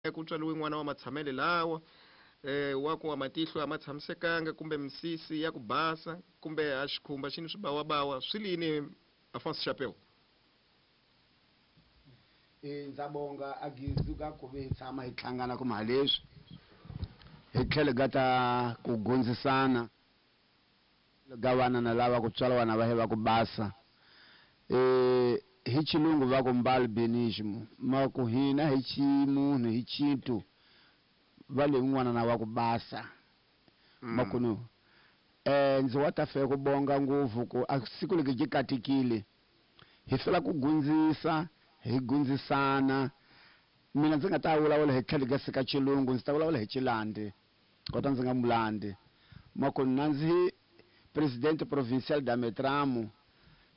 Ku tswariwe n'wana wa matshamele lawa wa ku a matihlo a ma tshamisekanga kumbe misisi ya ku basa kumbe a xikhumba xi ni swibawabawa swi lini Afonso Chapeu? E ndza bonga a gizu ka ku ve hi tshama hi hlangana kuma ha leswi hi tlhelo ga ta ku gundzisana ga vana na lava ku tswala vana va he va ku basa e hi xilungu va ku mbalbinism ma ku hina hi ximunhu hi xintu va le n'wana na wa ku basa makunu ndzi wa ta fe ku bonga ngopfu ku a siku leki ji katekile hi fela ku gundzisa hi gundzisana mina ndzi nga ta vulavula hi tlhelo ka sika xilungu ndzi ta vulavula hi xilandi kota ndzi nga mulandi makunu na ndzi presidente provincial da Metramo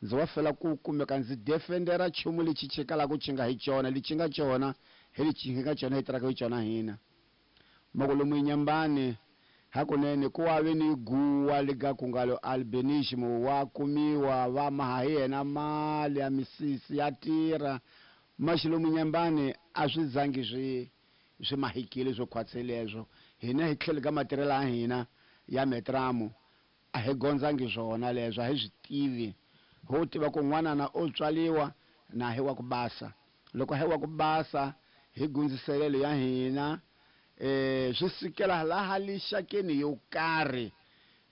ndzi wa fela ku kumeka ndzi defendera nchumu lexi chikalaka xi nga hi cona lexi nga cona hi lexi nga cona hi tirhaka hi cona hina mako lomu Inhambane hakunene ku wa ve ni guwa lega ku nga lo albinism wa kumiwa va maha hi yena mali ya misisi ya tirha maxi lomu Inhambane a swi zangi swi swi mahikile swo khwatse leswo hina hi tlhelo ka matirhelo ya hina ya Metramo a hi gondzangi swona leswo a hi swi tivi ho tiva ku n'wanana o tswaliwa na hi wa ku basa loko hi wa ku basa hi gundziselelo ya hina swi sukela laha lixakeni yo karhi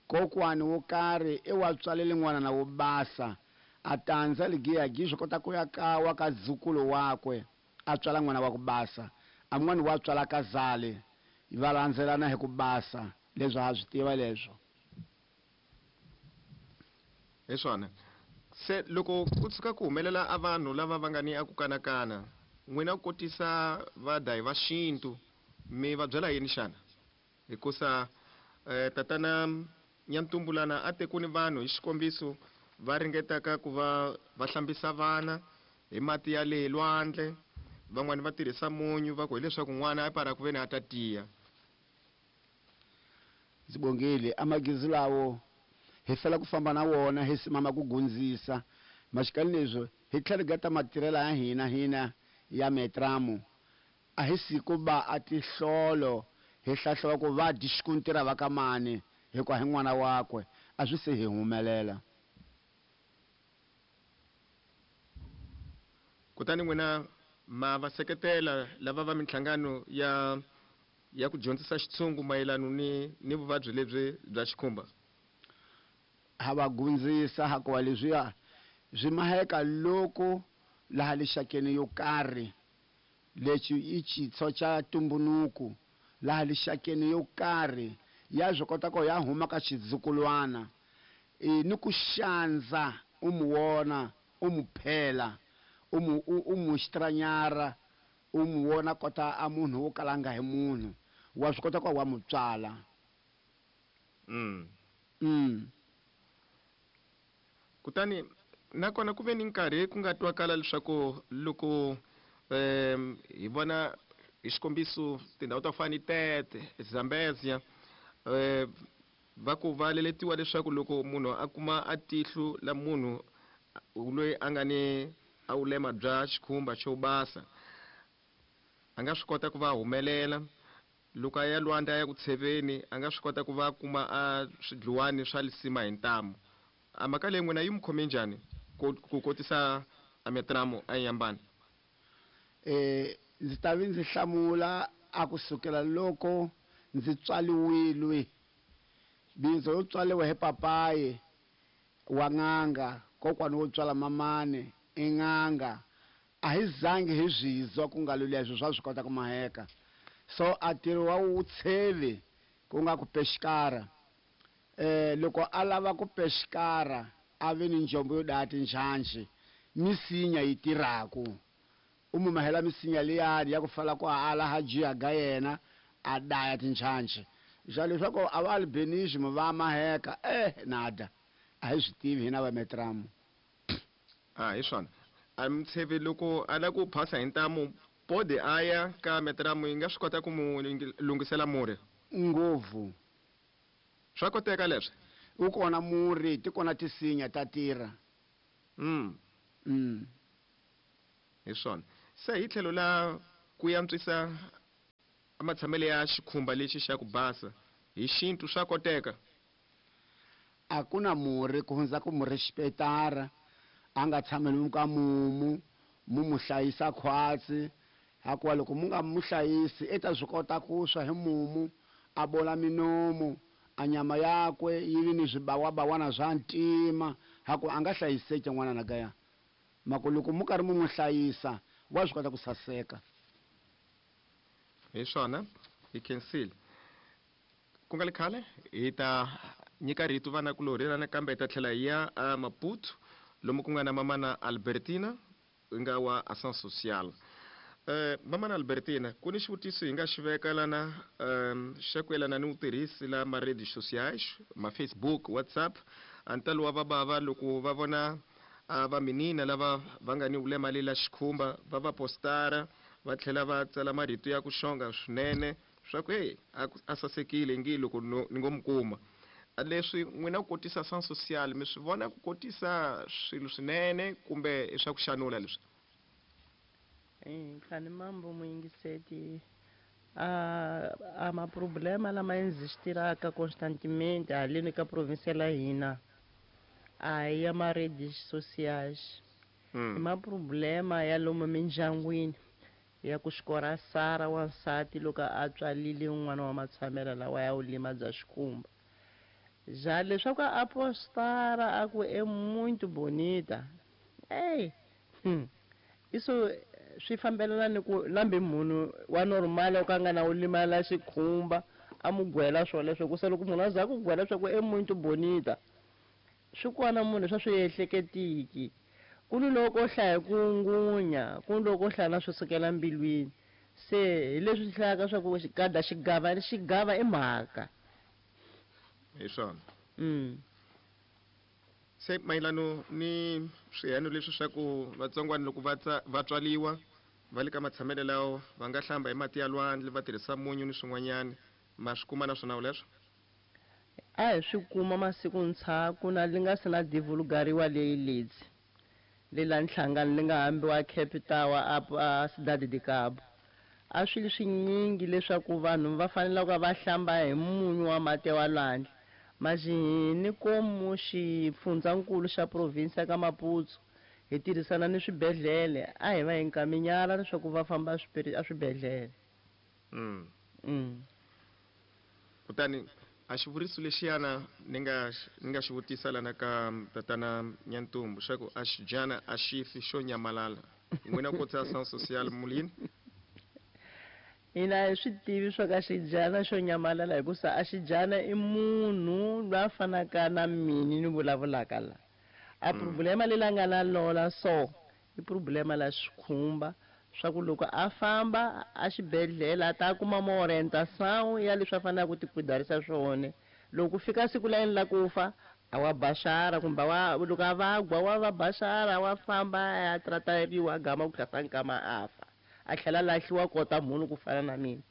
kokwani wo karhi i wa tswalele n'wanana wo basa a tandza ligiyagi swi kota ku ya kawa ka dzukulu wakwe a tswala n'wana wa ku basa a n'wana wa tswala ka zale va landzelana hi ku basa leswi ha swi tiva leswo hi swona se loko ku tshuka ku humelela a vanhu lava va nga ni a ku kanakana n'wina ku kotisa vadayi va xintu mi va byela yini xana hikusa tatana Nyantumbulana a te ku ni vanhu hi xikombiso va ringetaka ku va va hlambisa vana hi mati ya le lwandle van'wani va tirhisa munyu va ku hileswaku n'wana a para ku ve ni a ta tiya ndzi bongile amagizi lawo hi fela ku famba na wona hi simama ku gundzisa maxikali leswi hi tlhelo ga ta matirhelo ya hina hina ya Metramo a hi siku ba a tihlolo hi hlahluva ku va dyi xikuntira va ka mani hikuva hi n'wana wakwe a swi se hi humelela kutani n'wina ma va seketela lava va minhlangano ya ya ku dyondzisa xitshungu mayelano ni ni vuvabyi lebyi bya xikhumba ha va gundzisa hakuva leswiya swi maheka loko laha lixakeni yo karhi lexi i xitshwo xa tumbunuku laha lixakeni yo karhi ya swi kota ku ya huma ka xizukulwana e ni ku xandza u mu wona u mu phela u mu u mu xitranyara u mu wona kota a munhu wo kala nga hi munhu wa swi kota ku wa mu tswala Kutani nakona ku ve ni nkarhi ku nga twakala leswaku loko hi vona hi xikombiso tindhawu ta ku fana ni Tete Zambezia va ku va leletiwa leswaku loko munhu a kuma a tihlo la munhu loyi a nga ni a vulema bya xikhumba xo basa a nga swi kota ku va humelela loko a ya lwandle a ya ku tsheveni a nga swi kota ku va kuma a swidluwani swa lisima hi ntamu a mhaka leyi n'wina yi mi khome njhani ku ku kotisa a Metramo a Inhambane Ndzi ta vi ndzi hlamula a ku sukela loko ndzi tswaliwile bindzo yo tswaliwa hi papayi wa n'anga kokwani wo tswala mamani i n'anga a hi zangi hi swizwa ku nga lo leswo swa swi kota ku maheka so a ntirho wa wutshevi ku nga ku pexikara loko a lava ku pexikara a ve ni njombo yo daya tinjhanjhi misinya yi tirhaku u mu mahela misinya liyani ya ku fala ku a ala ha jiya ga yena a daya tinjhanjhi xa leswaku a va albinism va maheka nada a hi swi tivi hina va Metramo a hi swona a mutsheve loko a lava ku phasa hi ntamu pode a ya ka Metramo yi nga swi kota ku mu lunghisela murhi ngopfu swa koteka leswi wu kona murhi ti kona tisinya ta tirha Hi swona se hi tlhelo la ku antswisa A matshamele ya xikhumba lexi xa ku basa hi xintu swa koteka? A ku na murhi ku hundza ku mu respetara, a nga tshameli ka mumu, mu mu hlayisa khwatsi, hakuva loko mu nga mu hlayisi i ta swi kota ku swa hi mumu, a bola minomu, a nyama yakwe yi vi ni swibawabawana swa ntima, hakuva a nga hlayiseki n'wana na gaya. Mako loko mu karhi mu n'wi hlayisa, wa swi kota ku saseka. Hi swona, hi khensile. Ku nga li khale hi ta nyika rito vanakulorhi lana, kambe hi ta tlhela hi ya a Maputo lomu ku nga na mamana Albertina nga wa Ação Social. Mamana Albertina, ku ni xivutiso hi nga xi veka lana xa ku yelana ni vutirhisi la ma-redes sociais, ma-Facebook, WhatsApp. A ntalo wa vabava loko va vona a va minina lava va nga ni vulema lela xikhumba, va va postara, va tlhela va tsala marito ya ku xonga swinene swa ku hey, a sasekile ngi loko ni ngo mi kuma. Leswi n'wina ku kotisa Ação Social mi swi vona ku kotisa swilo swinene kumbe i swa ku xanula leswi? Nkhani mambo muyingiseti, a maproblema lama existiraka constantemente haleni ka province la hina a ya ma-redes sociais. I maproblema ya lomu mindyangwini ya ku xikora sara wansati loko a tswalile n'wana wa matshamela lawa ya vulima bya xikhumba. Ja leswaku a postara a ku e muito bonita. Ey, Iso swi fambelana ni ku lambe munhu wa normal o ka nga na ulima la xikhumba a mu gwela swoleswo, ku se loko munhu a za ku gwela swa ku e muito bonita, swi kona munhu swa swi ehleketiki. Ku ni loko hlaya ku ngunya, ku ni loko hlaya na swi sukela mbilwini. Se hi leswi swi hlayaka swa ku xigada xigava xigava i mhaka. Hi swona. Se mayelano ni swiheno leswi swa ku vatsongwana loko va tswaliwa va le ka matshamelo lawo va nga hlamba hi mati ya lwandle va tirhisa munyu ni swin'wanyana, ma swi kuma na swona leswo? A hi swi kuma masiku ntshaku na li nga se na divulgariwa leyi ledzi le la nhlangano li nga hambiwa Cape Town a Cidade de Cabo. A swi li swinyingi leswaku vanhu va fanele ku va hlamba hi munyu wa mati wa lwandle. Majihini komu xifundzankulu xa province ka Maputo hi tirhisana ni swibedhlele, a hi va hi nkaminyala leswaku va famba a swibedhlele. Kutani a xivuriso lexiyana ni nga xi vutisa lana ka tatana Nyantumbu xa ku a xidyana a xi fi xo nyamalala. N'wina ku tsa Ação Social mulini? Hina hi swi tivi swa ka xidyana xo nyamalala hikusa a xidyana i munhu loyi a fanaka na mini ni vulavulaka la. A problema leyi la nga na lola so i problema la xikhumba swa ku loko a famba a xibedhlele a ta kuma ma orientation ya leswi a faneleke ku tikwidharisa swona. Loko ku fika siku la yena la ku fa a wa baxara kumbe wa loko a vagwa wa va baxara wa famba a ya trateriwa a gama ku tlhasa nkama a fa, a tlhela a lahliwa kota munhu ku fana na mina.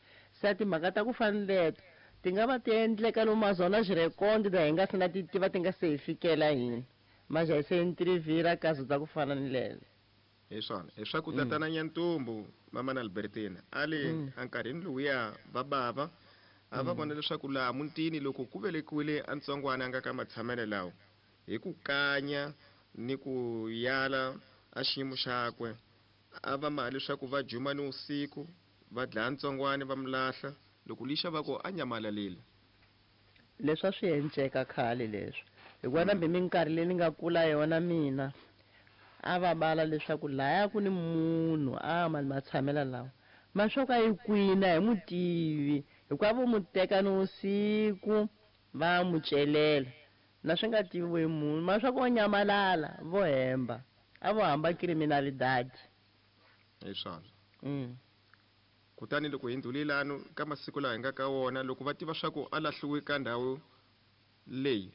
Se timhaka ta ku fana ni leto ti nga va ti endleka lomu mazona xirekondi ta hi nga se na ti tiva ti nga se hi fikela hina. Maja hi se interview kazo ta ku fana ni lelo. Hi swona, hi swa ku tatana Nyantumbu mama na Albertina a le enkarhini lowuya va bava a va vona leswaku laha mutini loko ku velekiwile a ntsongwana a nga ka matshamelo lawo hi ku kanya ni ku yala a xiyimo xakwe a va maha leswaku va juma ni usiku va dlaya ntsongwana va mu lahla loko lixa va ku a nyamalalile. Leswi a swi enceka khale leswi hikuva na minkarhi leyi ni nga kula yona mina a va bala leswaku laya ku ni munhu a ma matshamela lawa maswaku a yi kwina hi mutivi hikuva vo mu teka ni usiku va mu celela na swi nga tiviwi hi munhu maswaku o nyamalala vo hemba a vo hamba criminalidad. Hi swona. Kutani loko hi ndhulilano ka masiku laha hi nga ka wona loko va tiva swa ku a lahliwe ka ndhawu leyi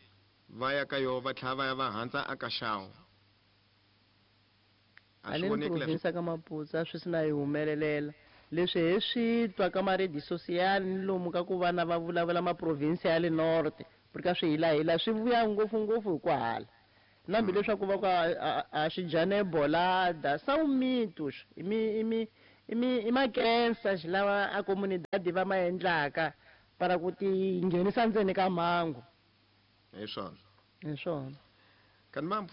va ya ka yo va tlhela va ya va handza a ka xawu. A swi Haleni voneki leswi. province ka Maputo a swi si na yi humelelela leswi hi swi twa ka ma-radio social ni lomu ka ku vana va vulavula ma-province ya le north porque a swi hilahila swi vuya ngopfungopfu hi ku hala na hambi leswaku va ku a xidyana e bolada são mitos i mi i mi I makensa xilawa a comunidade va ma endlaka para ku ti nghenisa ndzeni ka mhangu. Hi swona. Hi swona. Kanimambo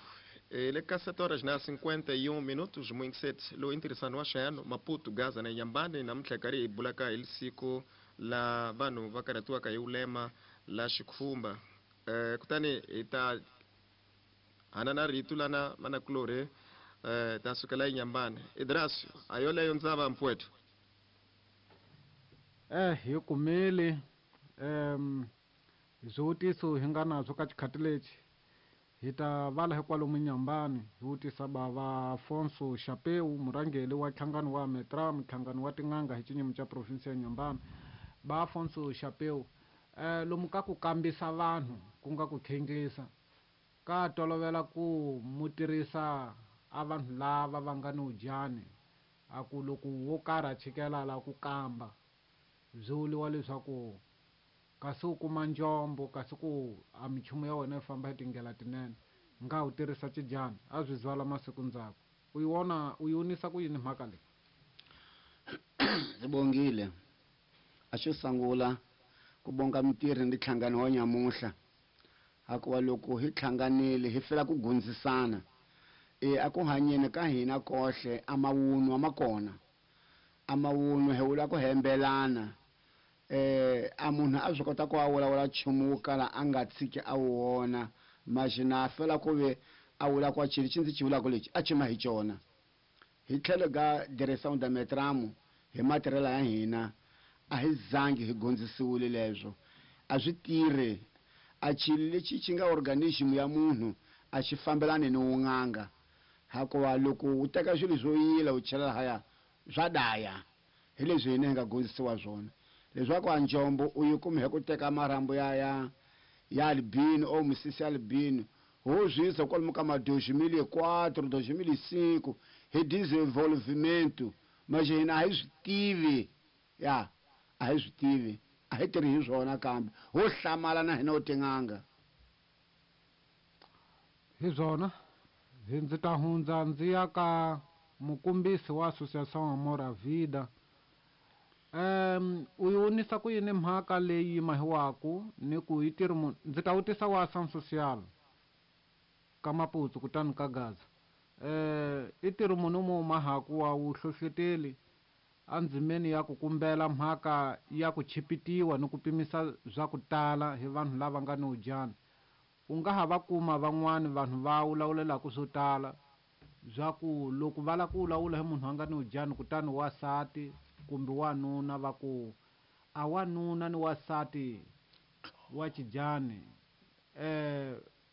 le ka 7 horas na 51 minutos muyingiseti lowu i ntirhisano wa xayano Maputo Gaza na Nyambane namuntlha hi karhi hi bulaka hi siku la vanhu va karhatiwaka hi vulema la xikhumba. Kutani hi ta hanana rito lana manakulorhi ta sukela eNyambane. Idrasio a yoleyo ndzava mpfweto. Hi kumile swivutiso hi nga nazwo ka xikhati lexi hi ta vala hikwalomu Nyambane hi vutisa bava Afonso Xapeu murhangeri wa nhlangano wa Metra nhlangano wa tin'anga hi xinyimi xa province ya Nyambane. Ba Afonso Xapeu lomu ka ku kambisa vanhu ku nga ku khenglisa ka tolovela ku mu tirhisa a vanhu lava va nga ni udyani a ku loko wo karhi a chikela la ku kamba byi vuriwa leswaku kasi u kuma njombo kasi ku a minchumu ya wena yi famba hi tindlela tinene nga u tirhisa xidyani a byi zwala masiku ndzhaku u yi vona u yi vonisa ku yini mhaka leyi? Ndzi bongile a xo sungula ku bonga mitirhi ni nhlangano wa nyamuhla hikuva loko hi hlanganile hi fela ku gundzisana a ku hanyeni ka hina kohle a mawunwa ma kona a mawunwa hi vula ku hembelana a munhu a swi kota ku a vulavula nchumu wo kala a nga tshiki a wu wona maxina a fela ku ve a vula ku xilo lexi ndzi xi vulaka lexi a xi ma hi xona. Hi tlhelo ka direção da Metramo hi matirhelo ya hina a hi zangi hi gondzisiwile leswo a swi tirhi a xilo lexi xi nga organism ya munhu a xi fambelani ni wun'anga hikuva loko u teka swilo swo yila u chela lahaya swa daya hi leswi hina hi nga gondzisiwa swona leswaku a njombo u yi kume hi ku teka marhambu ya ya albino o misisi ya albino ho zwisa kwalomu ka ma 2004 2005 hi desenvolvimento mas hina a hi swi tivi ya a hi swi tivi a hi tirhi hi swona kambe ho hlamala na hina ho tin'anga. Hi swona hi ndzi ta hundza ndzi ya ka mukumbisi wa Associação Amor à Vida. U yi vonisa ku yini mhaka leyi mahiwaku ni ku yi tirhi munhu ndzi ta vutisa wa Ação Social ka Maputo kutani ka Gaza. I tirhi munhu mo mahaku wa wuhlohloteli endzimeni ya ku kumbela mhaka ya ku chipitiwa ni ku pimisa swa ku tala hi vanhu lava nga ni udyana. U nga ha va kuma van'wani vanhu va vulavulelaka swo tala bya ku loko va lava ku vulavula hi munhu a nga ni udyani kutani wansati kumbe wanuna va ku a wanuna ni wansati wa xidyani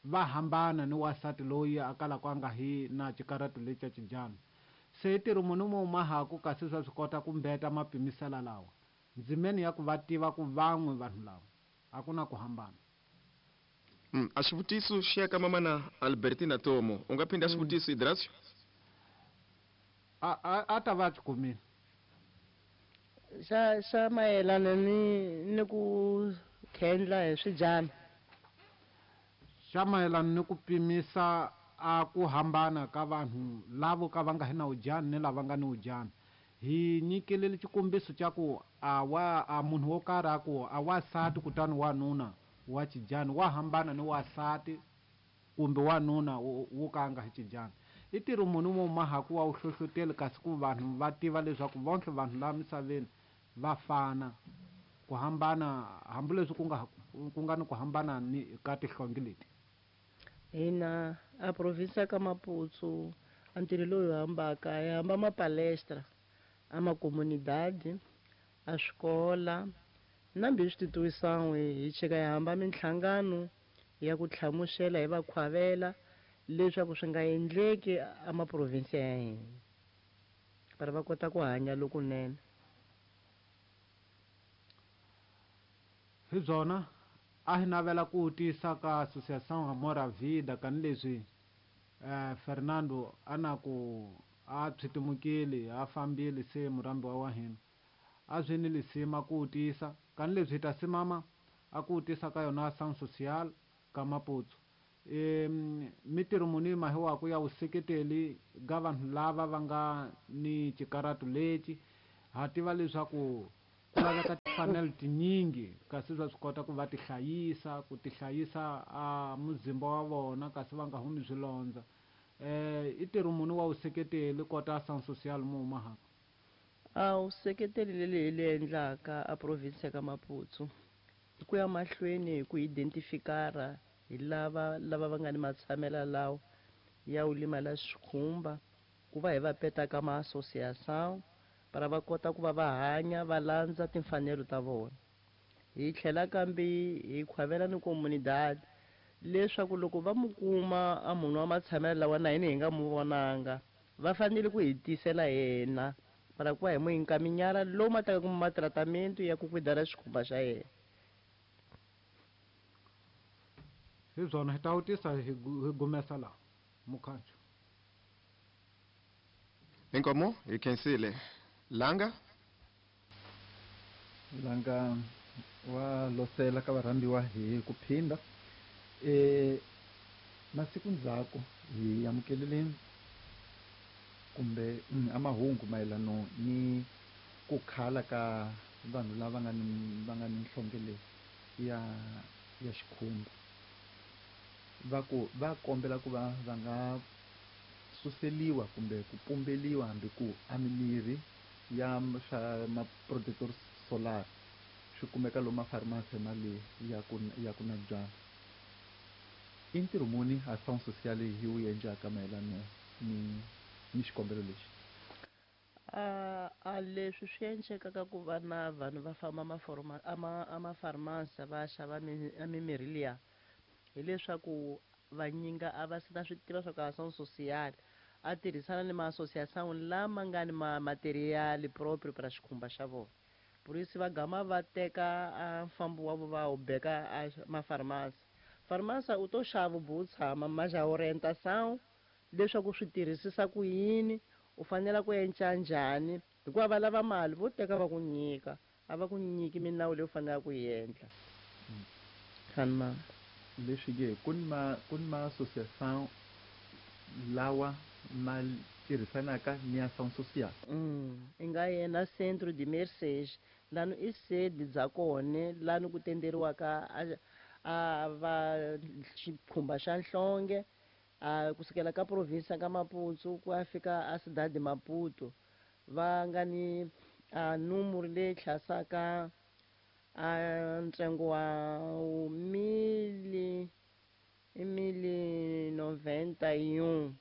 va hambana ni wansati loyi a kalaka a nga hi na xikarhato lexi xa xidyani. Se ntirho munhu mo mahaku kasi swa swi kota ku mbeta mapimisela lawa ndzimeni ya ku va tiva ku van'we vanhu lava a ku na ku hambana. A xivutiso xi ya ka mamana Albertina Tomo u nga phinda xivutiso Idrasio? A ta va xi kumile. Xa mayelana ni ku khendla hi swidyana. Xa mayelana ni ku pimisa a ku hambana ka vanhu lavo ka va nga hi na udyani ni lava nga ni udyani. Hi nyikile xikombiso xa ku a wa a munhu wo karhi a ku a wansati kutani wanuna wa xidyani wa hambana ni wansati kumbe wanuna wo ka a nga hi xidyani. I ntirho munhu mo mahaku wa wuhlohloteli kasi ku vanhu va tiva leswaku vonke vanhu laha misaveni va fana ku hambana hambileswi ku nga ni ku hambana ni ka tihlonge leti. Hina a province ka Maputo a ntirho lowu hi hambaka hi hamba mapalestra a makomunidade a swikola na mbi switituwisan'we hi chika hi hamba minhlangano ya ku hlamusela hi va khwavela leswaku swi nga endleki a maprovinsi ya hina para va kota ku hanya lokunene. Hi byona a hi navela ku tisa ka Associação Amor à Vida kanileswi Fernando a na ku a pshitimukile a fambile se murhambiwa wa hina a swi ni lisima ku tisa kanileswi hi ta simama a ku tisa ka yona Ação Social ka Maputo. Mitirho muni mahiwaku ya vuseketeli ga vanhu lava va nga ni xikarhato lexi Ha tiva leswaku ku laveka timfanelo tinyingi kasi va swi kota ku va ti hlayisa, ku ti hlayisa a muzimba wa vona kasi va nga humi swilondza. I ntirho muni wa vuseketeli kota ação social mu mahaka? A vuseketeli leli hi li endlaka a province ya ka Maputo i ku ya mahlweni hi ku identifikara hi lava lava va nga ni matshamela lawa ya u limala xikhumba, ku va hi va peta ka ma-associação para va kota ku va va hanya va landza timfanelo ta vona. Hi tlhela kambe hi khwavela ni comunidade leswaku loko va mu kuma a munhu wa matshamelo lawa na hina hi nga mu vonanga, va fanele ku hi tisela yena para ku va hi mu encaminhar lomu a taka kuma matratamento ya ku cuidar xikhumba xa yena. Hi byona hi ta vutisa hi gumesa laha mukhanyo. Inkomo hi khensile. Langa? Langa wa losela ka varhambiwa hi ku phinda. Masiku ndzhaku hi amukelile kumbe a mahungu mayelano ni ku khala ka vanhu lava nga ni va nga ni nhlonge leyi ya xikhumba. Va ku va kombela ku va va nga suseliwa kumbe ku pumbeliwa hambi ku a mimirhi ya swa ma protector solar swi kumeka lomu mafarmasi ma le ya ku na byala. I ntirho muni ação social yi wu endlaka mayelano ni xikombelo lexi? A leswi swi endlekaka ku va na vanhu va famba a mafarmasi va xava a mimirhi liya, hileswaku vanyinga a va se na swi tiva swa ku ação social a tirhisana ni ma-associação lama nga ni ma material proprio para xikhumba xa vona. Por isso va gama va teka a mfambo wa vo va wu beka a mafarmasi. Farmasi u to xava u tshama mas a orientação leswaku swi tirhisisa ku yini, u fanele ku endla njhani, hikuva va lava mali vo teka va ku nyika, a va ku nyiki minawu leyi u faneleke ku yi endla. Khanma. Leswi ke ku ni ma associação lawa ma tirhisanaka ni ação social. I nga yena Centro de Mercês, lani i sede bya kona lani ku tenderiwaka a va xikhumba xa nhlonge, a kusukela ka province ka Maputo ku ya fika a Cidade de Maputo, va nga ni a numero leyi hlasaka a ntsengo wa mili noventa e um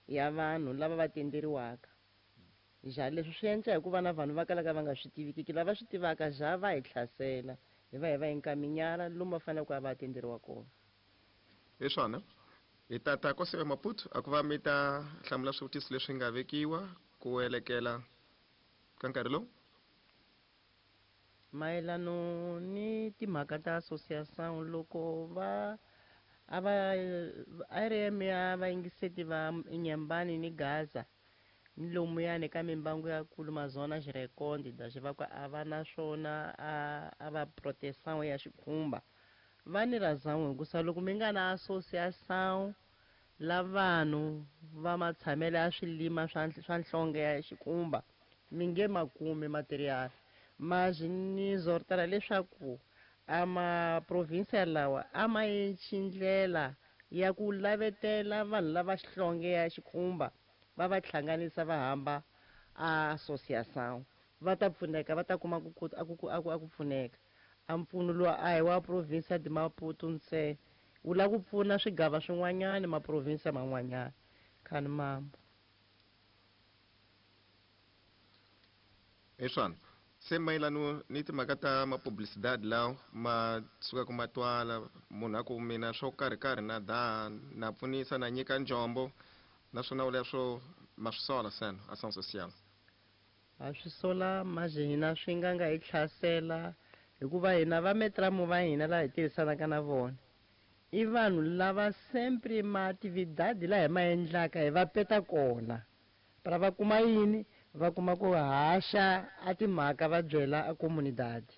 ya vanhu lava va tenderiwaka. Ja leswi swi endla hikuva na vanhu va kalaka va nga swi tivikiki, lava swi tivaka ja va hi hlasela, hi va hi va encaminhar lomu va faneleke ku ya va tenderiwa kona. Hi swona. Hi tata ko sive Maputo a ku va mi ta hlamula swivutiso leswi nga vekiwa ku elekela ka nkarhi lowu. Mayelano ni timhaka ta associação, loko va a va RM ya vayingiseti va Inhambane ni Gaza ni lomuyani ka mimbangu ya kulu mazona xirekondi da xi va ku a va na swona a va proteção ya xikhumba. Va ni razão hikusa loko mi nga na associação la vanhu va matshamelo ya swilima swa nhlonge ya xikhumba mi nge ma kumi material. Mas ni zortela leswaku a maprovinsia lawa a ma endli ndlela ya ku lavetela vanhu lava xihlonge ya xikhumba va va hlanganisa va hamba a associação, va ta pfuneka, va ta kuma a ku pfuneka. A mpfuno lowu a hi wa provinsia de Maputo ntsena, wu lava ku pfuna swigava swin'wanyana maprovinsia man'wanyana. Khani mambo. Hi swona. Se mayelano ni timhaka ta ma-publicidade lawa ma sukaka ma twala, munhu a ku mina swo karhi karhi na da na pfunisa na nyika njombo, naswona u leswo ma swi sola seno ação social. Ha swi sola mas hina swi nga nga hi hlasela hikuva hina va metramu va hina laha hi tirhisanaka na vona i vanhu lava sempre ma atividade laha hi ma endlaka hi va peta kona para va kuma yini, va kuma ku haxa a timhaka va byela a comunidade.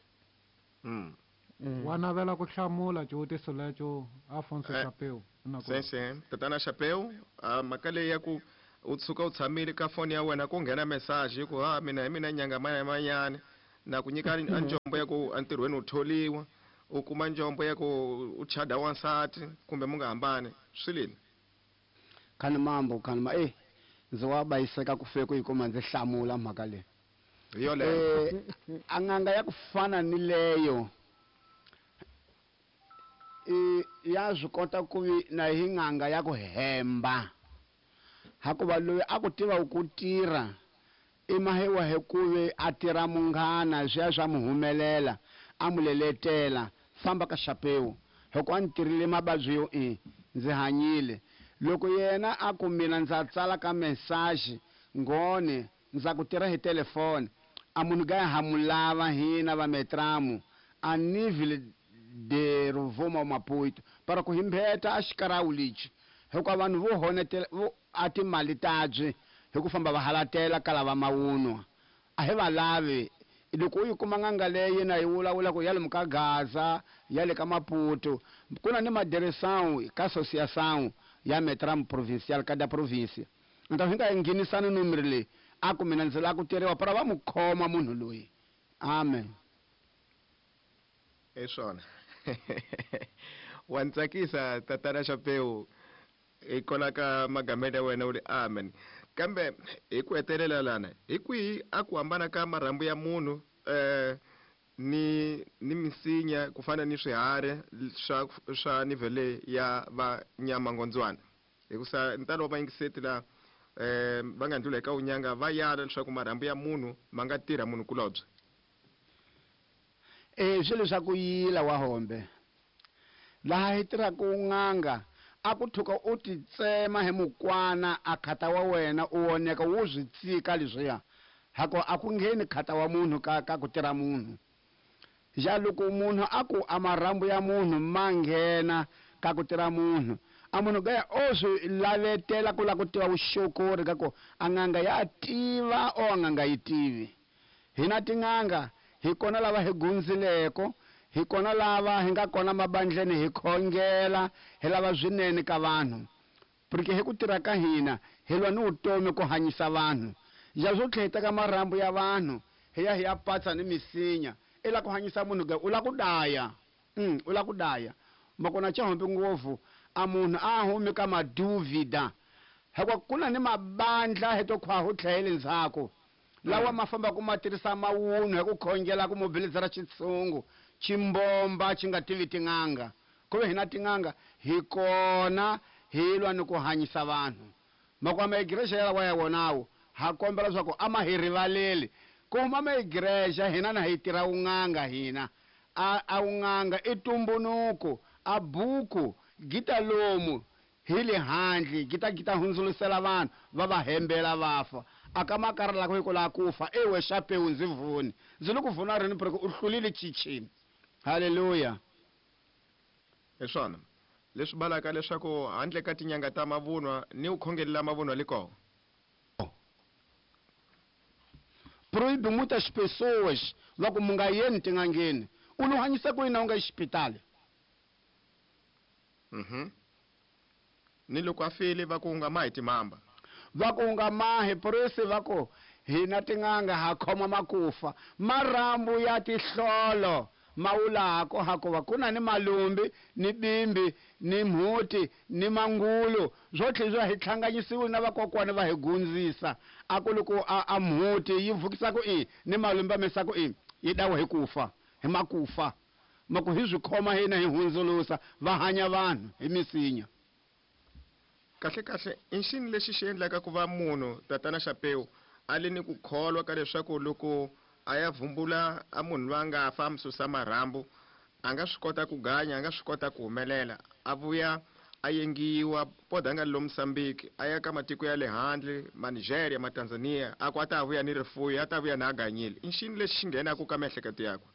Wa navela ku hlamula xivutiso lexo Afonso Chapeu. Sim, sim. Tatana Chapeu, a mhaka leyi ya ku U tshuka u tshamile ka foni ya wena ku nghena message ku ha mina hi mina nyanga manyani na ku nyika a njombo ya ku entirhweni u tholiwa, u kuma njombo ya ku u chada wansati kumbe mu nga hambani swi lini. Khani mambo khani ma ndzi wa bayiseka ku fe ku yi kuma ndzi hlamula mhaka leyi. Hi yoleyo. A n'anga ya ku fana ni leyo ya swi kota ku vi na hi n'anga ya ku hemba, hakuva loyi a ku tiva ku tirha i mahewa hi ku vi a tirha munghana swi ya swa mu humelela a mu leletela famba ka xapewu hikuva a ni tirhile mavabyi yo ndzi hanyile. Loko yena a ku mina ndza tsala ka message ngone ndza ku tirha hi telefoni a munhu ga ha mu lava hina va metramu a nível de Rovuma Maputo para ku himbeta a xikarawu lexi hikuva vanhu vo honetela vo a timali tabyi hi ku famba va halatela kala va mawunwa a hi va lavi. Loko u yi kuma n'anga leyi na yi vulavula ku ya lomu ka Gaza ya le ka Maputo ku na ni madereção ka associação ya Metram provincial ka da província, então hi nga nghenisani numero leyi a ku mina ndzi lava ku tirhiwa para va mu khoma munhu loyi. Amen. Hi swona. Wa ni tsakisa tatana Xapewu hikwalaho ka magamelo ya wena u ri amen. Kambe hi ku hetelela lana hi kwihi a ku hambana ka marhambu ya munhu ni misinya ku fana ni swiharhi swa nivele ya va nyamangondzwana? Hikusa ntalo wa vayingiseti la va nga ndlula eka unyanga va yala leswaku marhambu ya munhu ma nga tirha munhu kulobye. Swilo swa ku yila wa hombe laha hi tirhaka n'anga a ku thuka u titsema hi mukwana a khata wa wena u woneka wu swi tsika leswiya hako a ku ngheni khata wa munhu ka ku tirha munhu. Ja loko munhu a ku a marhambu ya munhu ma nghena ka ku tirha munhu a munhu gaya o swi lavetela ku lava ku tiva vuxokori ka ku a n'anga ya tiva o a n'anga yi tivi. Hina tin'anga hi kona lava hi gundzileko, hi kona lava hi nga kona mabandleni hi khongela hi lava swinene ka vanhu, porque hi ku tirha ka hina hi lwa ni vutomi ku hanyisa vanhu. Ja swo tlhela hi teka marhambu ya vanhu hi ya hi ya patsa ni misinya i lava ku hanyisa munhu ga u lava ku daya. U lava ku daya makona chahombe ngopfu a munhu a humi ka maduvida hikuva ku na ni mabandla hi to khwahu tlhele ndzhaku lawa ma famba ku ma tirhisa mawunhu hi ku khongela ku mobilizera xitshungu ximbomba xi nga tivi tin'anga ku ve hina tin'anga hi kona hi lwa ni ku hanyisa vanhu. Makwama igreja ya lawa ya wonawo ha kombela leswaku a ma hi rivaleli ku huma ma igreja hina na hi tirha wun'anga hina a wun'anga i tumbunuko a buku gita lomu hi le handle gita hundzulusela vanhu va va hembela va fa a ka makara la ku la ku fa ewe Xapewu ndzi vuni ndzi le ku vuna rini porque u hlulile chichini. Haleluya. Hi swona leswi balaka leswaku handle ka tinyanga ta mavunwa ni u khongelela mavunwa le kona. Proíbe muitas pessoas va ku mu nga yeni tin'angeni u lo hanyisa ku yini u nga yi xipitali. Ni loko a file va ku nga mahi timamba va ku nga mahi purisi va ku hina tin'anga ha khoma makufa marhambu ya tihlolo ma wulako hakuva ku na ni malumbi ni bimbi ni mhuti ni mangulu swo tlhela swa hi tlhanganyisiwe na vakokwana va hi gundzisa a ku loko a mhuti yi vukisa ku i ni malumbi a misa ku i yi dawa hi kufa hi makufa maku hi swi khoma hina hi hundzulusa va hanya vanhu hi misinya. Kahle kahle i xini lexi xi endlaka ku va munhu tatana Xapewu a le ni ku kholwa ka leswaku loko a ya vumbula a munhu loyi a nga fa a mi susa marhambu a nga swi kota ku ganya a nga swi kota ku humelela a vuya a yengiwa poda a nga lo Mozambique a ya ka matiko ya le handle ma Nigeria ma Tanzania a ku a ta vuya ni rifuyo a ta vuya na a ganyile i xini lexi xi nghenaka ka miehleketo yakwe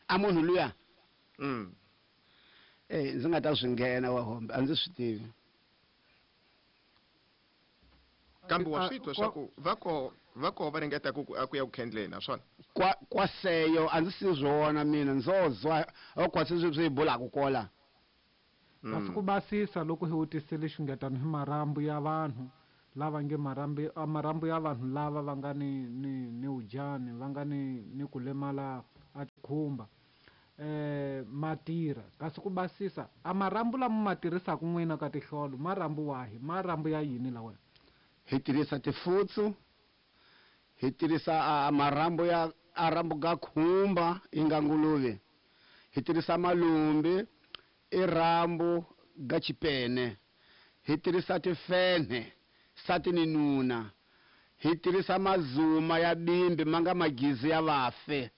a munhu luya? Ndzi nga ta swi nghena wa hombe a ndzi swi tivi. Kambe wa swi twa swa ku va ko va ringeta ku a ku ya ku khendleni naswona kwa seyo a ndzi si swona mina ndzo zwa o kwa swi swi bulaka kola. Kasi ku basisa loko hi vutisile xingetano hi marhambu ya vanhu Lava nge marhambu a marhambu ya vanhu lava va nga ni ni ni wujani va nga ni ni ku lemala a tikhumba ma tirha kasi ku basisa a marhambu lama ma tirhisaka n'wina ka tihlolo marhambu wahi marhambu ya yini lawa Hi tirhisa tifutsu, hi tirhisa a marhambu ya a rhambu ga khumba yi nga nguluve, hi tirhisa malumbi i rhambu ga chipene, hi tirhisa tifenhe sati ni nuna, hi tirhisa mazuma ya bimbi ma nga magizi ya vafe.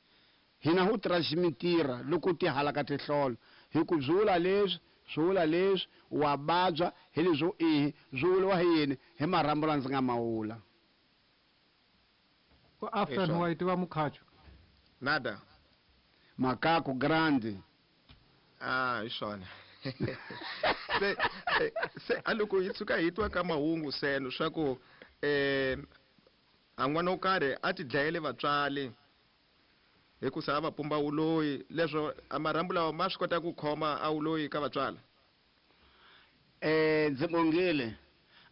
Hina hu transmitira loko ti hala ka tihlolo, hi ku byi vula leswi, swi vula leswi, wa vabya hi leswo ihi, swi vuriwa hi yini, hi marhambu la ndzi nga ma vula. Ku Aftan wa yi tiva mukhacho? Nada. Makaku grande. Ah, hi swona. Se se a loko hi tshuka hi twa ka mahungu seno swa ku a n'wana wo karhi a ti dlayele vatswari hikusa a va pumba wuloyi, leswo a marhambu lawa ma swi kota ku khoma a wuloyi ka vatswala? Ndzi bongile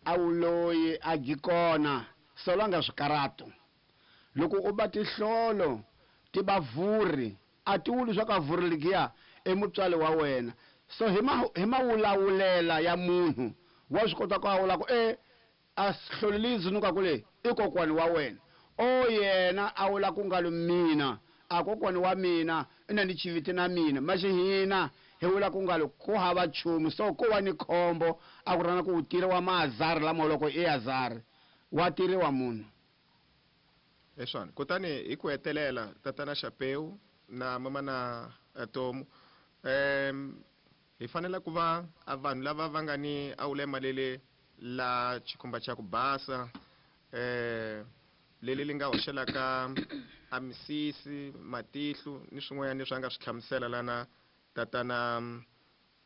a wuloyi a dyi kona solanga swikaratu. Loko u ba tihlolo ti ba vurhi, a ti vuli swa ka vurhi ligiya i mutswali wa wena. So hi ma hi mawulawulela ya munhu wa swi kota ku a vula ku e a hloli leyi dzunukaku leyi i kokwani wa wena. O yena a vula ku ngalo mina a kokwani wa mina i na ni chiviti na mina. Maxi hina hi vula ku ngalo ku hava nchumu so ko va ni khombo a ku rana ku u tiriwa maazari lama loko i azari wa tiriwa munhu. Hi swona. Kutani hi ku hetelela, Tatana Xapeu na Mamana Tomu, hi fanele ku va a vanhu lava va nga ni a wulema leli la xikhumba xa ku basa, leli li nga hoxelaka a misisi, matihlo ni swin'wanyana leswi a nga swi hlamusela lana Tatana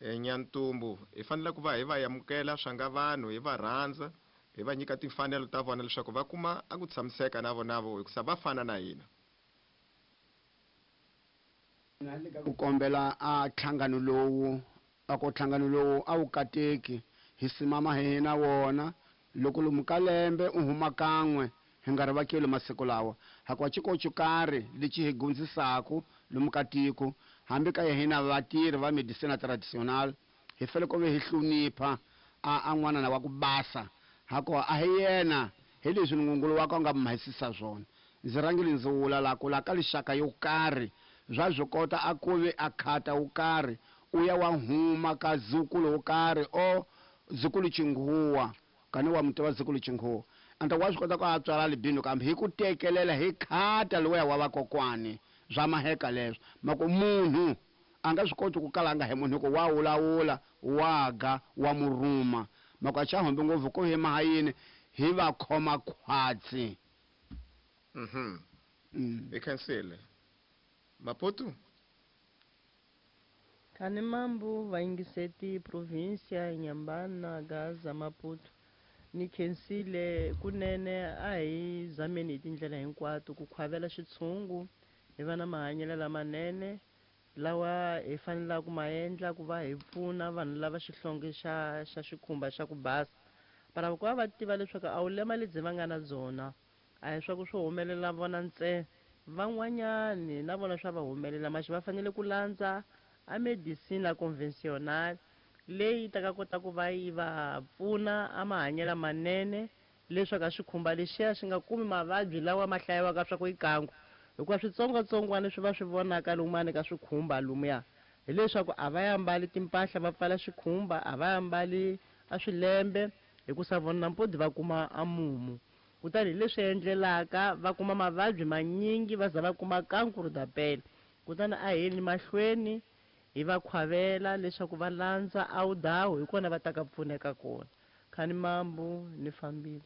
Nyantumbu. Hi fanele ku va hi va amukela swa nga vanhu, hi va rhandza, hi va nyika timfanelo ta vona leswaku va kuma a ku tshamiseka na vona vo, hikusa va fana na hina. Ku kombela a nhlangano lowu, a ku nhlangano lowu a wu kateki, hi simama hi na wona. Loko lomu ka lembe u huma kan'we, hi nga ri vakeli masiku lawa. Hakuva xikoxo karhi lexi hi gundzisaku lomu ka tiko, hambi ka hina vatirhi va medicina tradicional, hi fanele ku ve hi hlonipha a a n'wanana wa ku basa, hakuva a hi yena, hi leswi Nungungulu wakwe a nga mhahisisa swona. Ndzi rhangile ndzi vula la ku la ka lixaka yo karhi swa swi kota a ku ve a khata wo karhi u ya wa huma ka zukulu wo karhi o zukulu chinghuwa, kani wa muti wa zukulu chinghuwa, anta wa swi kota ku a tswala albino, kambe hi ku tekelela hi khata lowuya wa vakokwani swa maheka leswo. Mako munhu a nga swi koti ku kala a nga hi munhu, hikuva wa wulawula, wa ga, wa murhuma. Mako a xa hombi ngopfu ku hi maha yini hi va khoma khwatsi. Hi khensile. Maputo? Khanimambu vayingiseti provincia Inhambane, Gaza, Maputo. Ni khensile kunene a hi zameni hi tindlela hinkwato ku khwavela xitshungu, hi va na mahanyelo lamanene lawa hi fanelaka ku ma endla ku va hi pfuna vanhu lava xihlonge xa xa xikhumba xa ku basa. Para ku va va tiva leswaku a wulema lebyi va nga na byona a hi swa ku swi humelela vona ntsena, van'wanyani na vona swa va humelela, maxi va fanele ku landza a medicina convencional leyi ta ka kota ku va yi va pfuna a mahanyelo manene leswaku a xikhumba lexiya xi nga kumi mavabyi lawa ma hlayiwaka swa ku i kanku, hikuva switsongwatsongwana leswi va swi vonaka lumani ka swikhumba lumuya hileswaku a va ya mbali timpahla va pfala xikhumba, a va ya mbali a swilembe, hikusa vona nampodi va kuma a mumu. Kutani hi leswi endlelaka va kuma mavabyi manyingi va za va kuma kankuru da pele. Kutani a hi yeni mahlweni hi va khwavela leswaku va landza a wudawu, hi kona va ta ka pfuneka kona. Khanimambu ni fambile.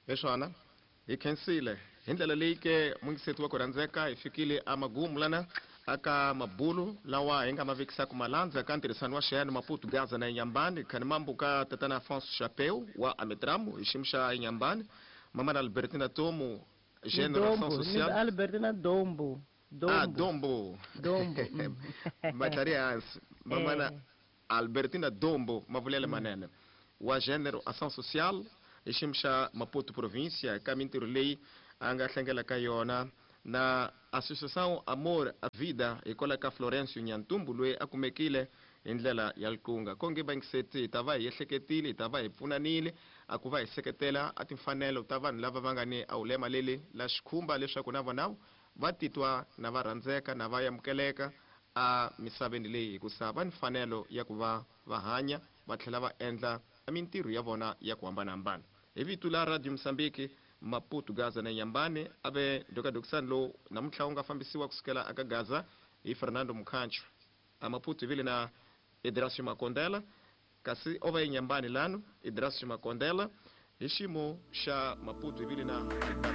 Hi swona, hi khensile. Hi ndlela leyi ke mungiseti wa ku rhandzeka, hi fikile a magumu lana aka mabulu lawa hi nga ma vekisaka malandza ka ntirhisano wa Xiyani Maputo Gaza na Inhambane. Khanimambu ka Tatana Afonso Chapeu wa Ametramu hi xiyimo xa Inhambane, Mamana Albertina Tomu, General Dombo, Action Social. ni Albertina Dombo. Ah, Dombo. Dombo. Dombo. Matlhari hansi. Mamana Albertina Dombo, mavulele manene wa General Action Social. Hi xiyimo xa Maputo provincia ka mintirho leyi a nga hlangela ka yona na Associação Amor a Vida hikwalaho ka Florencio Nyantumbu loyi a kumekile hi ndlela ya liqunga. Konge vayingiseti hi ta va hi ehleketile, hi ta va hi pfunanile a ku va hi seketela a timfanelo ta vanhu lava va nga ni a wulema leli la xikhumba leswaku na vona va titwa na va rhandzeka na va amukeleka a misaveni leyi, hikusa va ni mfanelo ya ku va va hanya va tlhela va endla mintirho ya vona ya ku hambanahambana. Hi vito la Radio Mozambique, Maputo, Gaza na Nyambane, a ve ndokadokisani lowu namuntlha wu nga fambisiwa kusukela aka Gaza hi Fernando Mukhancho. A Maputo hi vile na Idrasio Makondela, kasi o va eNyambane lano Idrasio Makondela. Hi xiyimo xa Maputo hi vile na Ricardo.